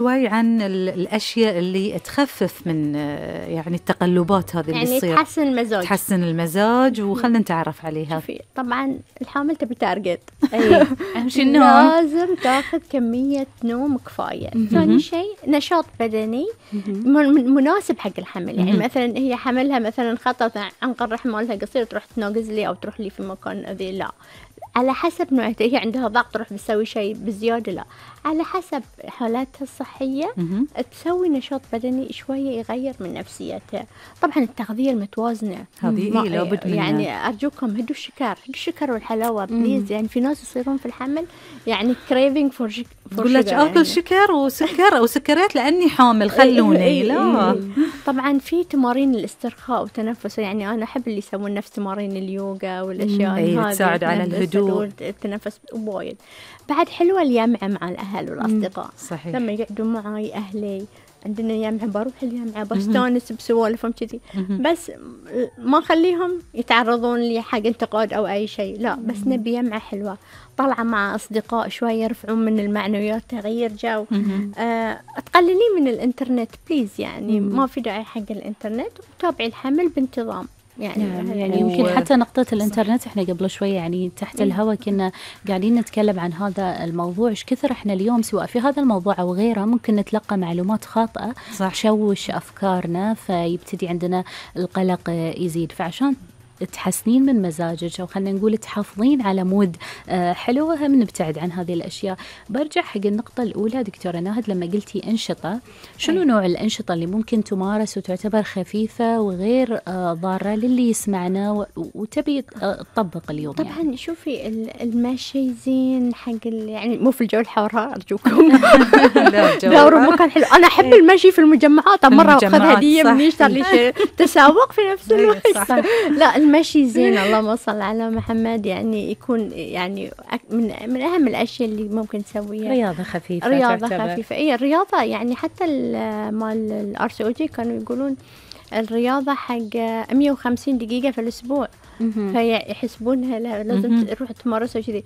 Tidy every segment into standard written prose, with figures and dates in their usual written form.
شوي عن الأشياء اللي تخفف من يعني التقلبات هذه اللي يعني تصير، تحسن المزاج. تحسن المزاج، وخلنا نتعرف عليها. شوفي طبعا الحامل تبي تارجت، أهم شيء النوم، لازم تاخذ كمية نوم كفاية. ثاني شيء نشاط بدني مناسب حق الحمل. يعني مثلا هي حملها مثلا خطط عنق الرحم مالها قصير، تروح تناقز لي أو تروح لي في مكان ذي، لا، على حسب نوعيتها. هي عندها ضغط تروح بتسوي شيء بزيادة، لا، على حسب حالاتها الصحية تسوي نشاط بدني شوية يغير من نفسيتها. طبعا التغذية المتوازنة هذه لابد منها. يعني أرجوكم هدوا الشكر والحلاوة بليز. يعني في ناس يصيرون في الحمل يعني craving for تقول لك آكل شكر وسكر أو سكريات لأني حامل، خلوني. لا طبعا في تمارين الاسترخاء والتنفس. يعني أنا أحب اللي يسوون نفس تمارين اليوغا والأشياء هذه تساعد على الهدوء، التنفس وايد. بعد حلوة الجامعة مع الأهل والأصدقاء. صحيح. لما يقعدوا معي أهلي عندنا جامعة، بروح الجامعة بستانس بسوالفهم كذي، بس ما أخليهم يتعرضون لي حق انتقاد أو أي شيء، لا، بس نبي جامعة حلوة، طلعة مع أصدقاء شوية يرفعون من المعنويات، تغيير جو. تقللي من الإنترنت بليز، يعني ما في داعي حق الإنترنت، وتابعي الحمل بانتظام. يعني يمكن حتى نقطة الإنترنت إحنا قبل شوية يعني تحت الهواء كنا قاعدين نتكلم عن هذا الموضوع، إيش كثر إحنا اليوم سواء في هذا الموضوع أو غيره ممكن نتلقى معلومات خاطئة تشوش أفكارنا، فيبتدي عندنا القلق يزيد. فعشان تحسنين من مزاجك أو خلينا نقول تحافظين على مود حلو، هم نبتعد عن هذه الأشياء. برجع حق النقطة الأولى دكتورة ناهد لما قلتي أنشطة، شنو نوع الأنشطة اللي ممكن تمارس وتعتبر خفيفة وغير ضارة للي يسمعنا وتبي تطبق اليوم؟ طبعا يعني شوفي المشي زين حق يعني مو في الجو الحار أرجوكم. دوروا مكان حلو. أنا أحب المشي في المجمعات، مرة أخذ هدية من يشتر لي تسوق في نفس الوقت. لا المشي زين، اللهم صل على محمد، يعني يكون يعني من أهم الأشياء اللي ممكن تسويها. رياضة خفيفة، إيه الرياضة يعني حتى مال RCOG كانوا يقولون الرياضة حق 150 دقيقة في الأسبوع، فيحسبونها لازم تروح تمارسها كذي،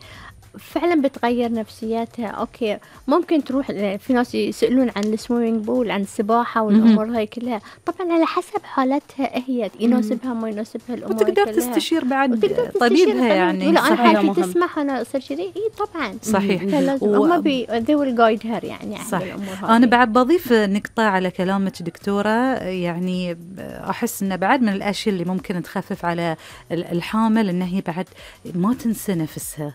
فعلا بتغير نفسياتها. أوكي ممكن تروح، في ناس يسألون عن السويمينج بول، عن السباحة والأمور هاي كلها، طبعا على حسب حالتها هي يناسبها ما يناسبها الأمور وتقدر كلها. تستشير بعد طبيبها يعني. لا أنا حالتي تسمح أنا أصير كذي، إيه طبعا صحيح. هم they will guide her يعني صح. أنا بعد بضيف نقطة على كلامك دكتورة، يعني أحس إنه بعد من الأشياء اللي ممكن تخفف على الحامل إنها هي بعد ما تنسى نفسها،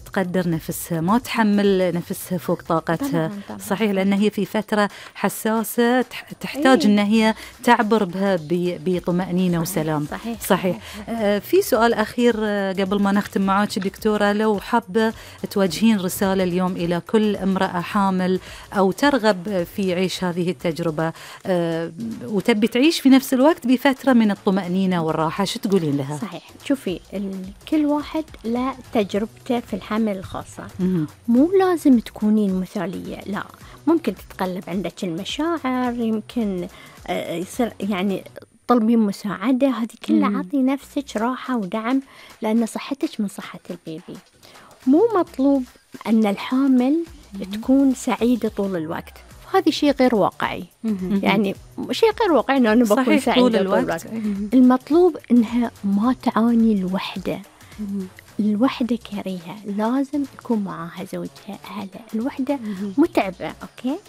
تقدر نفسها، ما تحمل نفسها فوق طاقتها. طبعاً. صحيح، لأن هي في فترة حساسة تحتاج إن هي تعبر بها بطمأنينة وسلام. صحيح. في سؤال أخير قبل ما نختم معاك دكتورة، لو حابة توجهين رسالة اليوم إلى كل امرأة حامل أو ترغب في عيش هذه التجربة وتبي تعيش في نفس الوقت بفترة من الطمأنينة والراحة، شو تقولين لها؟ صحيح. شوفي كل واحد له تجربته في الحمل الخاصة، مو لازم تكونين مثالية، لا، ممكن تتقلب عندك المشاعر، يمكن يصير يعني طلبين مساعدة، هذه كلها عطي نفسك راحة ودعم، لأن صحتك من صحة البيبي. مو مطلوب أن الحامل تكون سعيدة طول الوقت، هذا شيء غير واقعي. يعني شيء غير واقعي أنه أنا بكون سعيدة طول الوقت. المطلوب أنها ما تعاني الوحدة. الوحدة كريهة، لازم يكون معاها زوجها أهلها. الوحدة متعبة، أوكي؟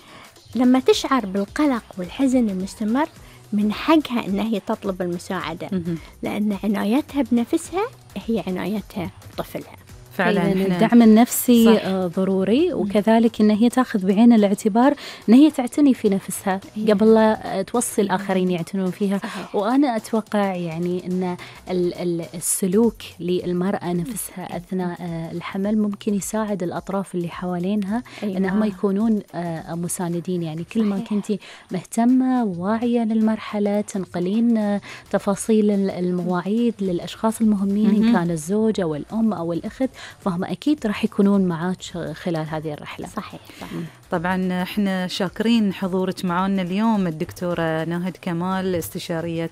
لما تشعر بالقلق والحزن المستمر من حقها أنها هي تطلب المساعدة، لأن عنايتها بنفسها هي عنايتها بطفلها. فعلا الدعم النفسي ضروري، وكذلك ان هي تاخذ بعين الاعتبار ان هي تعتني في نفسها قبل لا توصي الاخرين يعتنون فيها. وانا اتوقع يعني ان السلوك للمراه نفسها اثناء الحمل ممكن يساعد الاطراف اللي حوالينها انهم يكونون مساندين. يعني كل ما كنتي مهتمه وواعيه للمرحله تنقلين تفاصيل المواعيد للاشخاص المهمين، ان كان الزوج او الام او الاخت، فهم أكيد راح يكونون معاك خلال هذه الرحلة. صحيح. طبعا احنا شاكرين حضورك معنا اليوم الدكتورة ناهد كمال، استشارية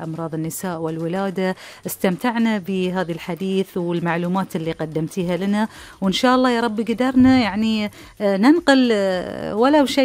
أمراض النساء والولادة. استمتعنا بهذا الحديث والمعلومات اللي قدمتيها لنا، وإن شاء الله يا رب قدرنا يعني ننقل ولو شيء